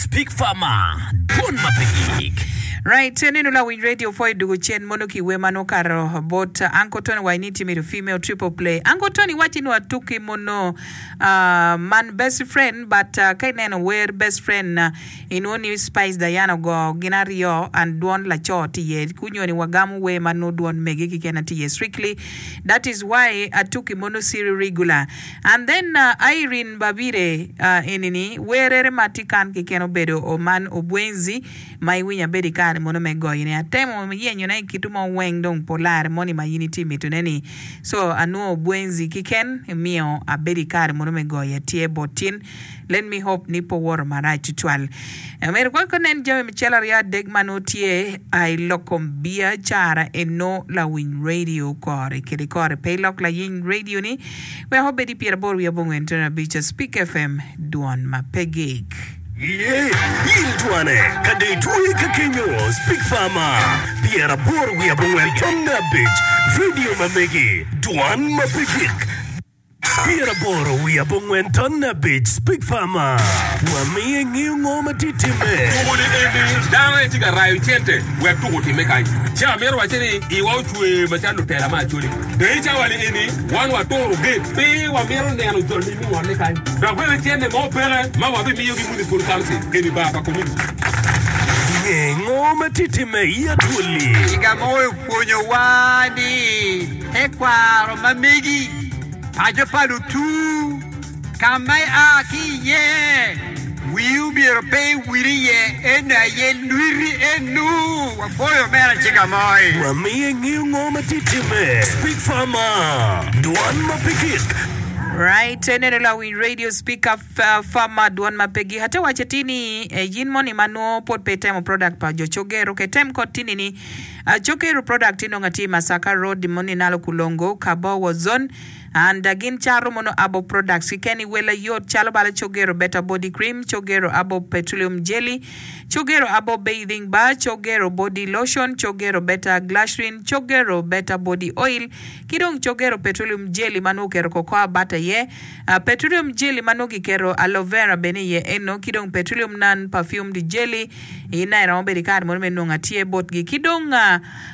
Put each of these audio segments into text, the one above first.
Speak Farmer, Dwon ma pe gik. Right, nino lawiny radio pwoyo dugo cen mono ki wer ma nongo okato bot Uncle Tony wa ini tye mito female triple play. Uncle Tony wacci nongo atuki mono uh, man best friend but uh, ka ineno wer best friend uh, inwongo ni Spice Diana ogo gin aryo and dwon laco tye iye kunyo ni wagamo wer ma nongo dwon mege keken tye iye strictly that is why atuki mono siri regular. And then Irene Babire eni ni werere ma tye kan keken obedo oman obwenzi ma iwinyo abedo ikare mono me goyo ne atemo yenyo ne kitu mo weng dong polare moni ma in itye mito ne ni so anwongo obwenzi kiken miyo abedo ikare mono me goyo atye bot tin Let me hope ni pe owoto marac tutwal. Myero kong nen jami macalo 23 ma nongo tye i lok kom biacara eno lawiny radio kore kede kore. Pe ilok layiny radio ni wek obed i 89.5 Speak FM dwon ma pe gik. Ye, yil twane ka dong itwoye ka kenyo Speak Farmer 85 radio ma megi dwan ma pe gik. 85 Speak Farmer, Wamiyo ingeyo ngo ma tye timme. Tuko ni eni dano aye tye ka rayo cente wek tuko otimme kany. Ci amito wacce ni iwa ocwer macalo lutela me Acholi. Dong i cawa ni eni wan waturo gate pe wamito neno joni me ngolle kany. Dok bene cente mo peke ma wabimiyogi Municipal Council eni bar pa community. Nge ngo ma tye timme i Acholi. Ciga mo opwonyowa ni tekwaro ma megi, paco pa lutu, ka ma ia ki iye, wii omyero pe iwil iye, eno aye lwiti enu. Wapwoyo omera Cigamoi. Wamiyo ingeyo ngo ma tye timme. Speak Farmer, Dwan ma pe gik. Right, eneno lawiny radio speaker farmer dwon ma pe gik. Ate waco atir ni yin moni ma nongo pwod pe itemo product pa jo Cogero ke tem kot tini ni Cogero product inongo atye i Masaka road moni nalo Kulongo, Kabowo zone and gin cato mono abo products kiken i wel ayot calo bala Cogero better body cream, Cogero abo petroleum jelly, Cogero abo bathing bar, Cogero body lotion, Cogero better glycerin, Cogero better body oil ki dong Cogero petroleum jelly ma nongo oketo cocoa butter iye. Petroleum jelly ma nongo kiketo aloe vera bene iye eno ki dong petroleum non perfumed jelly in aye iromo bedo i kare mono me nongo atye botgi. Ki dong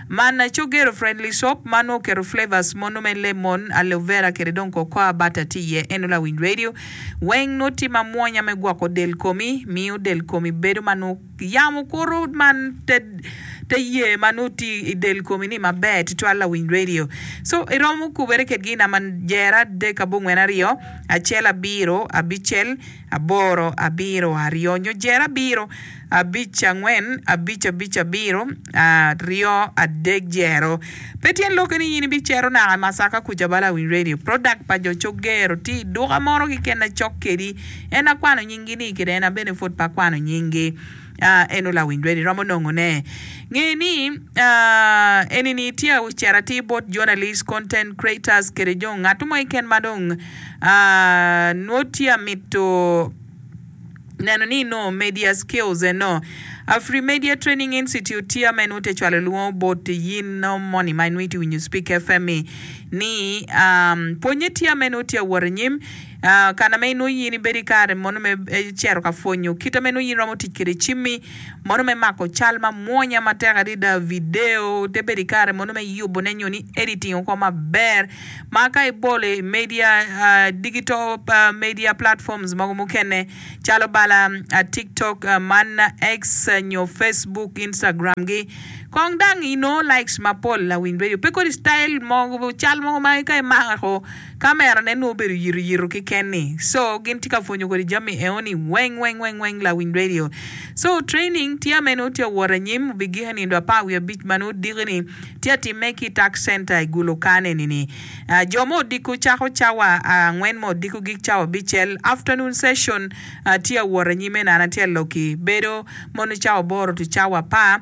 man Cogero friendly soap ma nongo oketo flavors mono me lemon, aloe vera kede dong cocoa butter tye iye eno lawiny radio weng nongo tye ma mwonya me gwoko del komi miyo del komi bedo ma nongo Yamo kuto man te te ye ma nongo tye i del komi ni maber tutwal lawiny radio. So iromo kubere kedgi i namba jero 3 42 7 8 7 2 nyo jero 7 5 4 5 5 7 2 3 0. Pe tyen lokke ni in ibicito naka i Masaka kuca ba lawiny radio. Product pa jo Cogero tye i duka mono keken na cok kedi. En akwano nyinggi ni kede en abene pwod pe akwano nyinggi. Eno lawiny ready romo nongo ne. Nge ni eni ni tye ocito atir bot journalist, content creators kede jo ngat mo keken ma dong nwo tye amito neno ni nongo media skills eno. Afrimedia Training Institute tye ma en te cwalo lwongo bot yin moni ma inwongo itye winyo Speak FM ni pwonye tye ma en tye awot anyim. Kana ma inongo in ibedo i kare mono me cito ka pwonyo kite ma inongo in iromo tic kwede cimmi mono me mako cal mamwonya matek adada, video, te bedo i kare mono me yubone nyo ni editing oko maber ma ka ibolo i media digital media platforms mogo mukene calo bala tiktok man X nyo Facebook, Instagram gi kong dang inongo likes mapol lawiny radio pe kodi style mogo cal mogo ma ka imako Kamera ne nongo obedo yito yito kiken ni so gin tye ka pwonyo kodi jami eo ni weng weng weng weng lawiny radio so training tye ame nongo tye awot anyim obigike nindo 15 ma nongo diki ni tye atime ki tax center i gulu kan eni ni jo mo odiko cako cawa angwen mo odiko gik cawa abicel afternoon session tye awot anyim eno an atye aloki bedo mono cawa aboro to cawa apar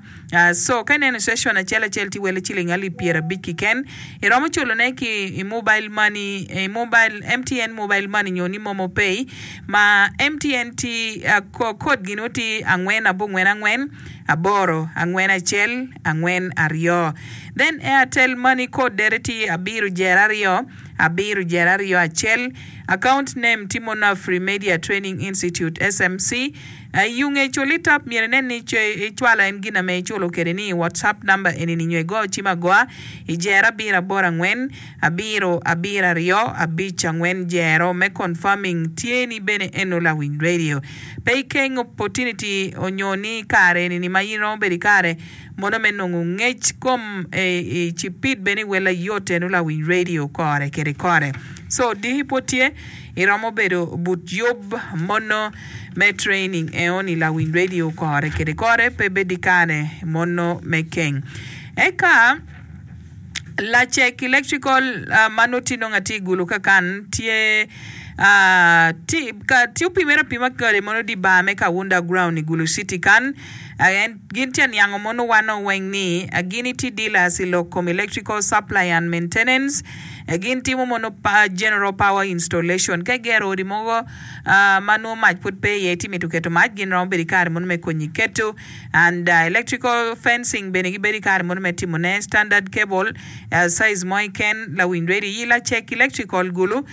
So ka ineno session acel acel tye wele ciling alip 50 kiken, iromo culo ne ki i mobile money, i mobile, MTN mobile money nyo ni momo pay ma MTN tye code gi nongo tye 4 8 4 8 4 1 4 2. Then Airtel money code dere tye 7 0 2 7 0 2 1. Account name tye mono Afrimedia Training Institute SMC. Yunge cul itap myero inen ni icwalo en gin ame iculo kede ni i WhatsApp number eni ni nyo igo cim agoa i jero abiro aboro angwen abiro abiro aryo abic angwen jero me confirming tye ni bene eno lawiny radio. Pe ikeng opportunity onyo ni kare eni ni ma in romo bedo ikare mono me nongo ngec kom i cipid bene i wel ayot eno lawiny radio kore kede kore. So diki pwod tye iromo bedo but yub mono me training eo ni lawiny radio kore kede kore pe bed ikare mono me keng. Eka lacek electrical ma nongo tye nongo atye igulu kakan tye tye opimere apima kede mono di bar me Kawunda ground i Gulu city kan en gin tye aniango mono wan weng ni gin itye dealers i lok kom electrical supply and maintenance gin timo mono general power installation ka igero odi mogo ma nongo mac pud pe iye itye mito keto mac gin romo bedo ki kare mono me konyi keto and electrical fencing bene gibedo ki kare mono me timo ne standard cable size mo keken lawiny radio yi lacek electrical gulu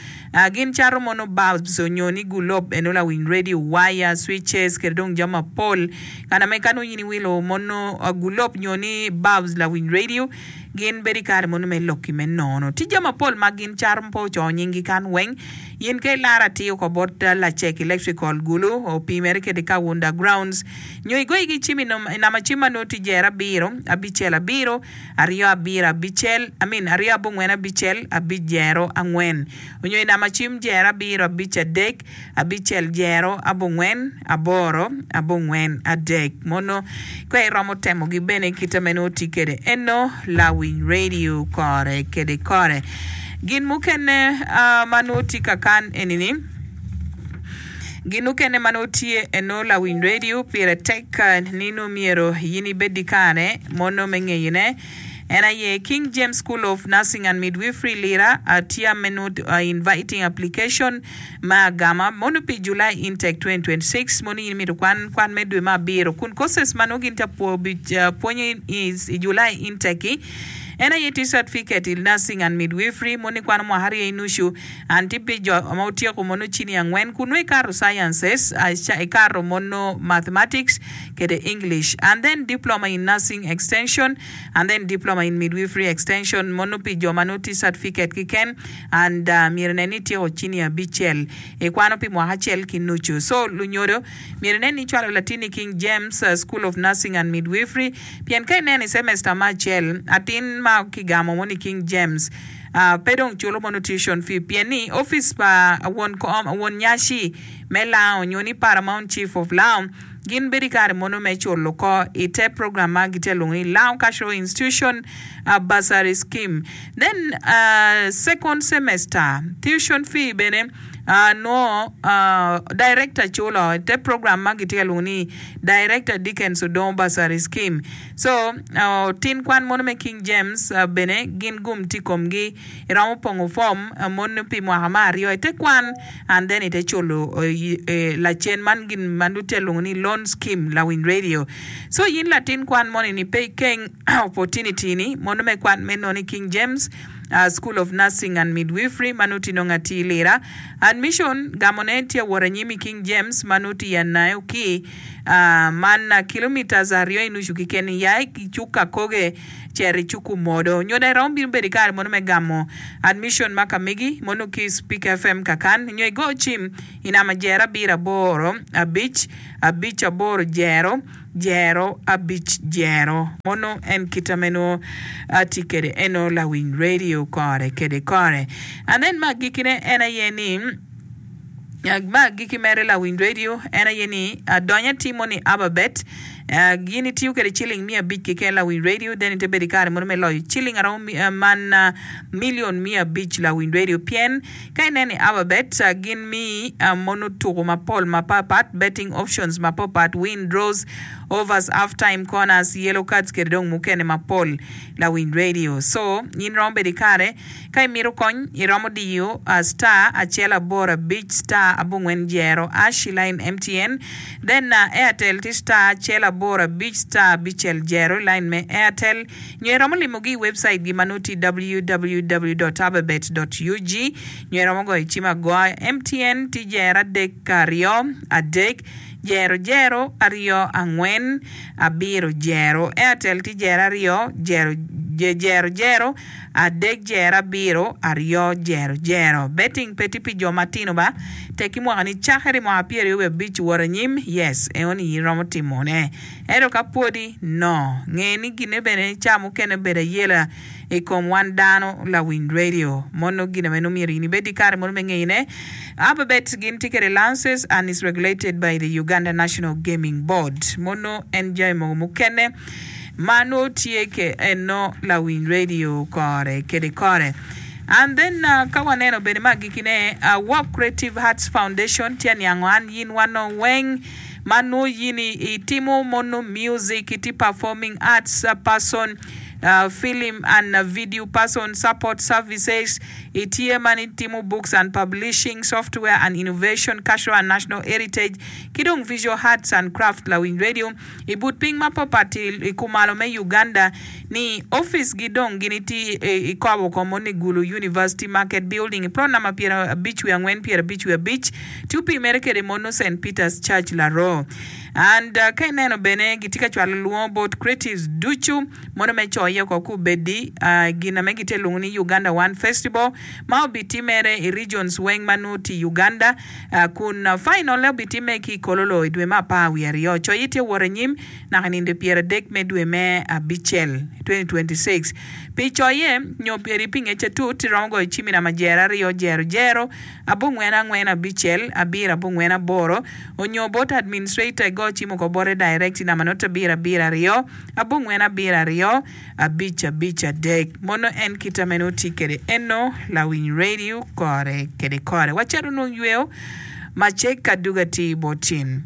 gin cato mono bulbs onyo ni gulob eno lawiny radio wire switches kede dong jami mapol kana me ka nongo in iwilo mono gulob nyo ni bulbs lawiny radio gin bedo ki kare mono me loki me nono tye jami mapol ma gin cato ma pe ocoyo nyinggi kan weng in ka ilaro atir oko bot lacek electrical gulu opimere kede kawunda grounds Nyo igoyi ki cim i namba cim ma nongo tye jero abiro, abicel abiro, aryo abiro abicel, I mean aryo abongwen abicel, abic jero angwen. Onyo i namba cim jero abiro abic adek, abicel jero abongwen, aboro abongwen adek. Mono ka iromo temogi bene kite ma nongo tye kwede eno lawiny radio kore kede kore. Gin mukene ma nongo tye kakan eni ni. Gin mukene ma nongo tye eno lawiny radio pire tek ni nongo myero in ibed ki kare mono me ngeyone en aye King James School of Nursing and Midwifery Lira tye me nongo inviting application me agama mono pi July intake 2026 mono in imito kwan kwan me dwe me abiro kun courses ma nongo gin tye ka pwonyo i July intake-ki en aye tye certificate i Nursing and Midwifery mono ikwano mwaka aryo ki nucu An tye pi jo ma otyeko mono cini angwen kun nongo ikato sciences, ikato mono mathematics kede English and then diploma in nursing extension and then diploma in midwifery extension mono pi jo ma nongo tye certificate keken and myero inen ni ityeko cini abicel ikwano pi mwaka acel ki nucu. So lunyodo myero inen ni icwalo latinni i King James School of Nursing and Midwifery pien ka ineno i semester me acel atin ma kigamo mono i King James Pe dong culo mono tuition fee pien ni opic pa won kom won nyaci me Lango nyo ni Paramount Chief of Lango gin bedo ki kare mono me culo oko i te program ma gitye ka lwongo ni Lango Cultural Institution Bursary Scheme. Then second semester tuition fee bene nongo director culo i te program ma gitye ka lwongo ni Director Dickens Odongo Bursary Scheme. So, tin kwan mono me King James bene gin gum tye i komgi. Iromo pongo fom mono pi mwaka me aryo ite kwan and then ite culo lacen man gin ma nongo tye lwongo ni loan scheme lawiny radio. So in latin kwan moni ni pe ikeng opportunity ni mono me kwan me nono i King James School of Nursing and Midwifery ma nongo tye nongo atir lira. Admission gamo ne tye awot anyim i King James ma nongo tye i Anayo ki Man kilometres aryo i nucu keken ya i cuk Kakoge cito i cuk Omodo. Nyo dong iromo bino bedo i kare mono me gamo admission ma ka megi mono ki Speak FM kakan nyo igo cim i namba jero abiro aboro abic abic aboro jero jero abic jero. Mono en kita me nongo atye kede eno lawiny radio kore kede kore. And then me agikine en aye ni. Me agikki mere lawiny redio en aye ni adonyo atimo ni Ababet gin itiyo kwede ciling miya abic keken lawiny redio then ite bedo ikare mono me loyo ciling aromo man million miya abic lawiny redio pien ka ineno i Ababet gin miyi mono tuko mapol mapapat betting options mapapat win, draws, overs, half time, corners, yellow cards kede dong mukene mapol lawiny redio so in romo bedo ikare Ka imito kony, iromo diyo star acel aboro abic star abongwen jero ash i lain MTN. Then Airtel tye star acel aboro abic star abicel jero i lain me Airtel. Nyo iromo limogi i website gi ma nongo tye www dot ababet dot ug. Nyo iromo goyo cim agoya MTN tye jero adek aryo adek. Jero jero aryo angwen abiro jero. Airtel tye jero aryo jero jero jero adek jero abiro aryo jero jero. Betting pe tye pi jo matino ba tek ki mwaka ni cakere i mwaka pyeraryo wiye abic wot anyim yes enoni iromo timo ne ento ka pwodi no nge ni gine bene ca mukene bedo ayela i kom wan dano lawiny radio mono gin meno myero in ibed ki kare mono me ngeyone. Alphabet gin tye kwede license and is regulated by the Uganda National Gaming Board mono en jami mogo mukene ma nongo tye ke eno lawiny radio kore kede kore. And then ka waneno bene me agikine Walk Creative Arts Foundation tye aniango an yin wan nongo weng ma nongo yin itimo mono music itye performing arts person Film and Video Person Support Services, itye ma ni timo Books and Publishing, Software and Innovation, Cultural and National Heritage, ki dong Visual Arts and Craft Lawiny Radio i but piny ma papat i kumalo me Uganda ni opic gi dong gin itye i kobo ko mo ni Gulu University Market Building i plot namba 54 55 tye opimere kede mono Saint Peters Church Laroo. And ka ineno bene gitye ka cwalo lwongo bot creatives ducu mono me coye oko kubedi gin ame gitye lwongo ni Uganda One Festival ma obitimere i regions weng ma nongo tye i Uganda kun final ne obitime ki i Kololo i dwe me apar wiye aryo. Coye tye wot anyim naka i nindo 30 me dwe me abicel 2026. Pi coye nyo pi ngec atut iromo goyo cim i namba jero aryo jero jero abongwen angwen abicel abiro abongwen aboro onyo bot administrator igo cim oko bote direct i namba not abiro abiro aryo abongwen abiro aryo abic abic adek mono en kit ame nongo tye kede eno lawiny radio kore kede kore wacito nwong yweyo macek ka duga atir bot cin.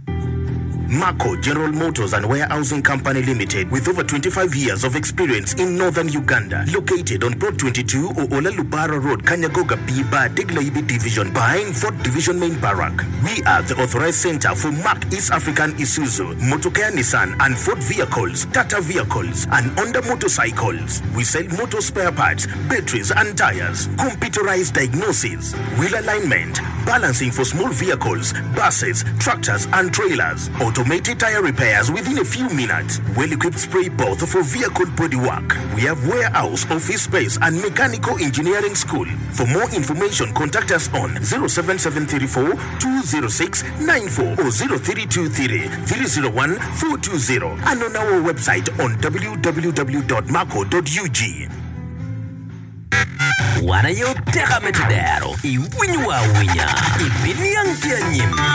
Marco General Motors and Warehousing Company Limited with over 25 years of experience in Northern Uganda located on Plot 22 Oola Lubara Road Kanyagoga B Bar Degla-Ibi Division behind Fort Division Main Barrack. We are the authorized center for Mack East African Isuzu, Motokea Nissan and Ford vehicles, Tata vehicles and Honda motorcycles. We sell motor spare parts, batteries and tires, computerized diagnosis, wheel alignment, balancing for small vehicles, buses, tractors and trailers, automated tire repairs within a few minutes, well-equipped spray booth for vehicle body work. We have warehouse, office space and mechanical engineering school. For more information contact us on 07734 206 94 or 0323 301 420 and on our website on www.marco.ug. Wan aye oteka me tedero, iwinyowa awinya, ibiniang ki anyim.